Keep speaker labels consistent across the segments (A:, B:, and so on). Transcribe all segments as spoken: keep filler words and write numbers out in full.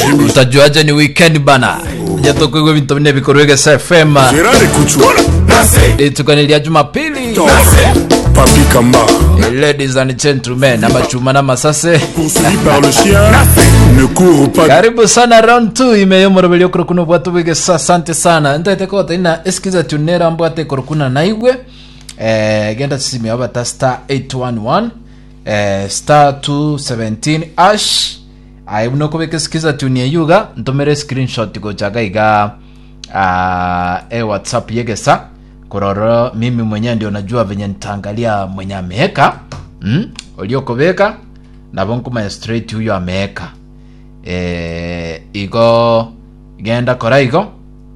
A: Utajuaje ni weekend bana? Jatokoigwa ebinto bine bikorwa Egesa F M.
B: Gérard Kouchou.
A: Rituko ni rya Jumapili.
B: Papi Kamba.
A: Eh, ladies and gentlemen, amachuma n'amasase.
B: Poursuivi par le chien, ne court pas.
A: Karibu sana round two ime yomoroberi okorokuna obwato bwegesa. Asante sana. Ntaete kota ina esikiza tunera mbwate korokuna naigwe. Eh, genda sisimi abata star eight one one eh, star two one seven hash. Aye, buno kobeka sikiza tune eyuga, ntomere screenshot gochaga iga uh, e WhatsApp yegesa kororo. Mimi mwenyewe ndio najua venye nitaangalia mwenye ameeka mm? Uliokobeka nabo nkumanya straight huyo ameeka. eh, igo genda kora igo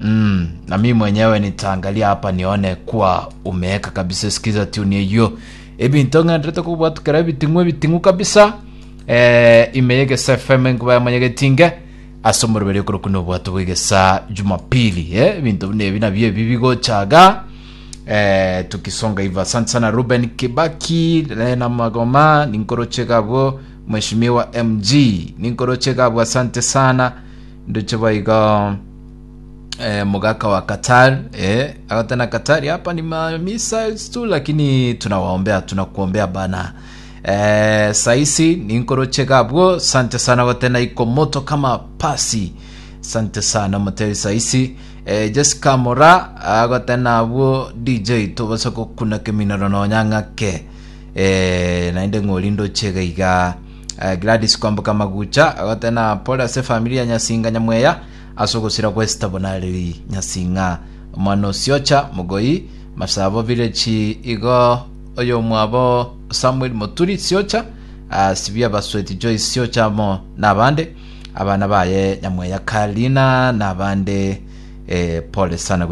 A: mm, na mimi mwenyewe nitaangalia hapa nione kuwa umeeka kabisa. Sikiza tune hiyo, ebinto ng'enderete kobwatukera ebiting'u ebiting'u kabisa. eh, ime yegesa F M, nkuba yamanyegetinge ase omoroberi okorokuna obwato bwegesa Jumapili. eh, ebinto buna ebi nabio ebi bigochaga eh, tukisonga hivyo. Asante sana Ruben Kibaki, Lena Magoma, ninkoroche gabwo. Mheshimiwa M G, ninkoroche gabwo, asante sana. Nduche baiga eh, mugaka wa Qatar, eh, akatena Qatar hapa ni ma missiles tu, lakini tunawaombea, tunakuombea bana. eh, saisi ninkoroche gabwo, asante sana. Gotena iko moto kama pasi, asante sana moteri saisi. eh, Jessica Mora agotena abwo D J tobasa gokuna keminoro nonya ng'ake. eh, naende ng'ori ndochega iga. eh, Gladys Kwamboka Magucha agotena pole ase familia ya Nyasinga Nyamweya ase ogosira gwesita bonareri Nyasinga omwana osiocha Mogoi Masabo village. Igo oyo mwabo Samuel Moturi Siocha, uh, sibia Basweti Joyce Siocha mo nabande abana baye Nyamweya Karina nabande. eh, pole sana.